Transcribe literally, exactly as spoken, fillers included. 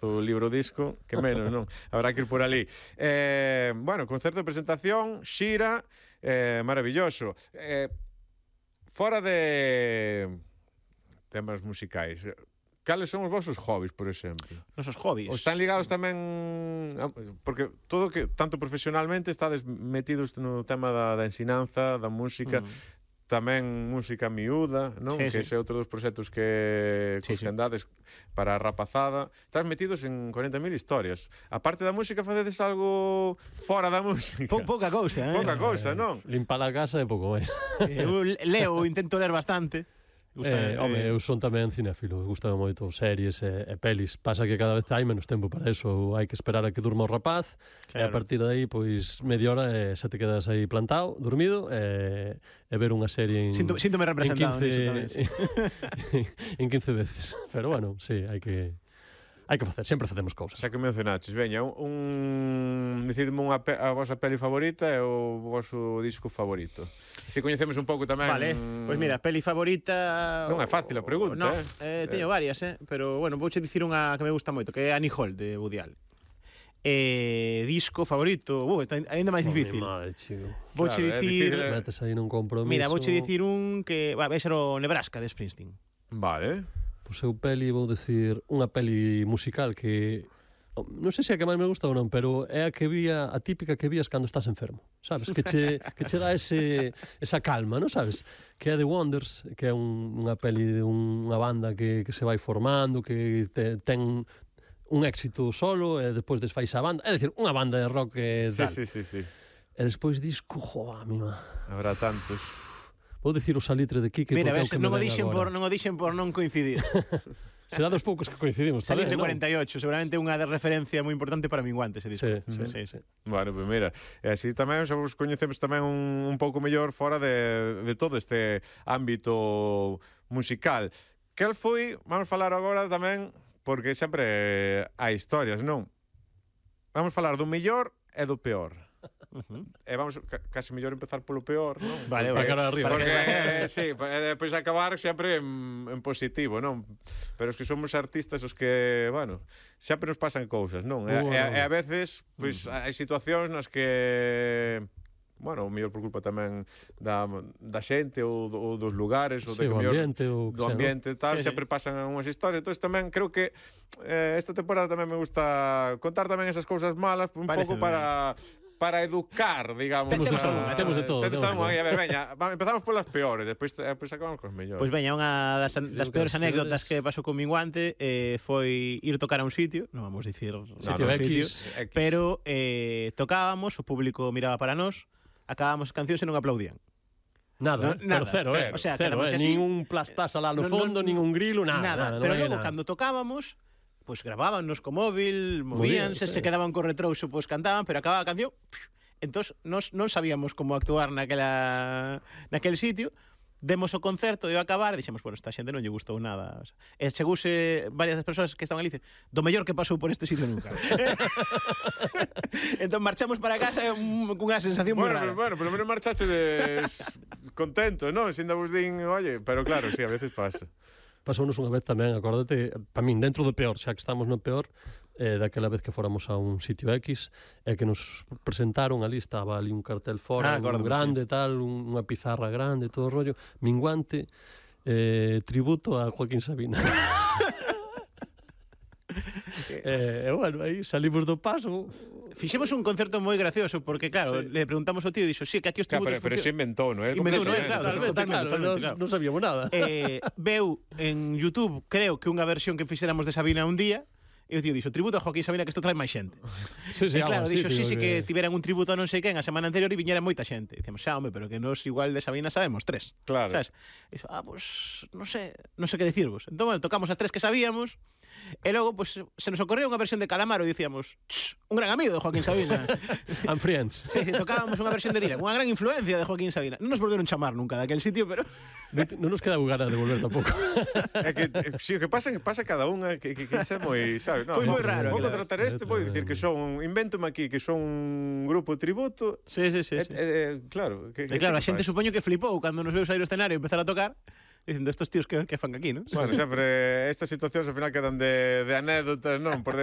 o libro disco, que menos, non? Habrá que ir por ali. Eh, bueno, concerto de presentación, xira, eh, maravilloso. Eh, fora de temas musicais, cales son os vosos hobbies, por exemplo? Nosos hobbies. Ou están ligados tamén, porque todo que, tanto profesionalmente, estades metidos no tema da, da ensinanza, da música, mm. tamén música miúda, non? Sí, que sí. ese é outro dos proxectos que, sí, que sí. andades para a rapazada. Estás metidos en corenta mil historias. A parte da música, facedes algo fora da música? Po, pouca cousa, eh? Pouca cousa, non? Limpar a casa é pouco máis. Eu leo, intento ler bastante. Gusta, eh, home, eu son tamén cinéfilo, gustame moito series e, e pelis. Pasa que cada vez hai menos tempo para eso, hai que esperar a que durma o rapaz, claro. E a partir de aí, pois, media hora e xa te quedas aí plantado, dormido, e, e ver unha serie en, Sinto, síntome representado en quince, tamén, sí. en quince veces. Pero bueno, sí, hai que hai que facer, sempre facemos cousas. Xa que mencionaches, veña, un decidme unha pe a vosa peli favorita e o voso disco favorito. Se coñecemos un pouco tamén. Vale, pois pues mira, peli favorita. Non é fácil a pregunta, no, eh. eh teño varias, eh, pero bueno, vouche dicir unha que me gusta moito, que é Annie Hall de Woody Allen. Eh, disco favorito, uh, está aínda máis difícil. Madre, chico. Vouche Claro, dicir, difícil, eh. metes aí nun compromiso. Mira, vouche dicir un que, va, vai ser o Nebraska de Springsteen. Vale. Pois eu peli vou decir unha peli musical que non sei se é a que máis me gusta ou non, pero é a que vía, a típica que vías cando estás enfermo, sabes? Que che, que che dá ese, esa calma, non sabes? Que é The Wonders, que é un, unha peli de un, unha banda que, que se vai formando, que te, ten un éxito solo e despois desfais a banda, é dicir, unha banda de rock e sí, tal. Sí, sí, sí. E despois disco, joa, mima. Habrá tantos. Vou dicir o Salitre de Quique. Mira, ves, non o dixen por non o dixen por non coincidir. Será dos poucos que coincidimos. Salitre cuarenta e ocho, seguramente unha de referencia moi importante para Minguante ese disco. Sí, sí, sí, sí. Bueno, pois pues mira, e así tamén xa vos coñecemos tamén un, un pouco mellor fora de, de todo este ámbito musical. Cal foi, vamos falar agora tamén, porque sempre hai historias, non? Vamos falar do mellor e do peor. Uh-huh. E vamos ca casi mellor empezar polo peor, non? Vale, porque, cara arriba. Porque, eh, sí, e depois acabar sempre en, en positivo, non? Pero os que somos artistas, os que, bueno, sempre nos pasan cousas, non? E, uh, e, e a veces, pois, uh-huh. hai situacións nas que, bueno, o mellor por culpa tamén da, da xente ou, do, ou dos lugares, ou sí, de que o mellor, ambiente, ou do sea, ambiente e tal, sí, sempre sí. pasan unhas historias. Entón tamén creo que eh, esta temporada tamén me gusta contar tamén esas cousas malas un Parece pouco para para educar, digamos. Temos de todo, temos de todo, Temos temos de todo. a ver, veña, empezamos polas peores, despois despois acabamos cos mellores. Pois veña, unha das, das peores anécdotas que pasou con Minguante eh, foi ir tocar a un sitio, non vamos dicir sitio no, no, X, sitio, X, pero eh, tocábamos, o público miraba para nós, acabábamos cancións e non aplaudían. Nada, no, nada, nada. Cero, eh. O sea, cero, eh. así, nin un plas plas alá no no, fondo, no, nin un grilo, nada. Nada, nada pero no logo nada. cando tocábamos, pois pues, gravábanos co móvil, movíanse, sí. se quedaban co retrouso, pois pues, cantaban, pero acababa a canción, entón nos non sabíamos como actuar naquela naquel sitio. Demos o concerto e ao acabar dixemos, bueno, esta xente non lle gustou nada. O sea, e chegouse varias das persoas que estaban ali dicen, do mellor que pasou por este sitio nunca. Entón marchamos para casa cunha sensación moi bueno, rara. Pero, bueno, polo menos marchaste de... contento, non? Sin da vos din, oye, pero claro, sí, a veces pasa. Pasounos unha vez tamén, acórdate, para min, dentro do peor, xa que estamos no peor, eh, daquela vez que fóramos a un sitio X, e que nos presentaron, ali estaba ali un cartel fora, Ah, un grande, sí. tal, un, unha pizarra grande, todo o rollo, Minguante, eh, tributo a Joaquín Sabina. E, eh, bueno, aí salimos do paso. Fixemos un concerto moi gracioso porque claro, sí. le preguntamos ao tío e dixo, "Sí, que aquí os Claro, tributos pero, pero se inventou, non é? Inventou, non é? Claro, Claro, totalmente, totalmente, claro, totalmente, nos, claro. non sabíamos nada. Eh, veu en YouTube, creo que unha versión que fixéramos de Sabina un día, e o tío dixo, tributo a Joaquín Sabina, que isto trae máis xente. Sí, sí, E claro, algo así, dixo, sí, sí, que... que tiveran un tributo a non sei quen a semana anterior e viñera moita xente. Dicemos, xa, home, pero que nos igual de Sabina sabemos tres. Claro. Sabes? E dixo, ah, pues, non sé, non sei que dicirvos. Entón, bueno, tocamos as tres que sabíamos, e logo, pues, se nos ocorreu unha versión de Calamaro e dicíamos, un gran amigo de Joaquín Sabina. And friends. Sí, sí, tocábamos unha versión de Dylan, unha gran influencia de Joaquín Sabina. Non nos volveron chamar nunca daquel sitio, pero... Non nos queda ganas de volver tampouco. É que, si, o que pasa é que pasa cada unha que, que, que é moi, sabes? No, foi moi no, raro. Vou Claro. contratar este, vou dicir que son, invéntome aquí que son un grupo tributo. Sí, sí, sí. sí. Eh, eh, claro, que, E claro, a xente supoño que flipou cando nos veu sair o escenario e empezar a tocar, dicindo, estos tíos que, que fan aquí, non? Bueno, sempre estas situacións ao final quedan de, de anécdotas, non? Por